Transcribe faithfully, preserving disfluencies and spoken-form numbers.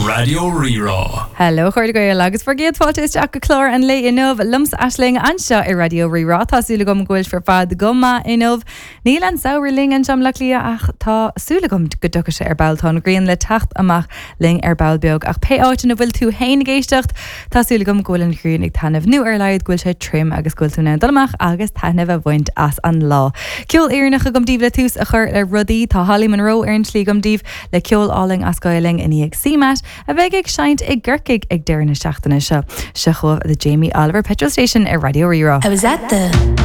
Raidió Rí-Rá. Hello chairde Gael agus bhur gcéad fáilte isteach go clár an lae inniu liomsa Aisling anseo ar Raidió Rí-Rá Tá súil agam go bhfuil sibh ar fad go maith inniu. Níl an samhradh linn anseo i mBaile Átha Cliath ach tá súil agam go dtiocfaidh sé ar ball tá an ghrian le teacht amach linn ar ball beag ach pé áit ina bhfuil tú féin ag éisteacht Tá súil agam go bhfuil an ghrian ag taitneamh nó ar a laghad go bhfuil sé tirim agus go bhfuil tú in ann dul amach agus taitneamh a bhaint as an lá. Ceol Éireannach agam daoibh le tús a chur le rudaí tá Holly Monroe ar an tslí agam daoibh le ceol álainn as Gaeilge i ndiaidh CMAT a bheidh ag seinnt i gCorcaigh ag deireadh na seachtaine seo. Seo chugaibh the Jamie Oliver Petrol Station ar Raidió Rí-Rá. I was at the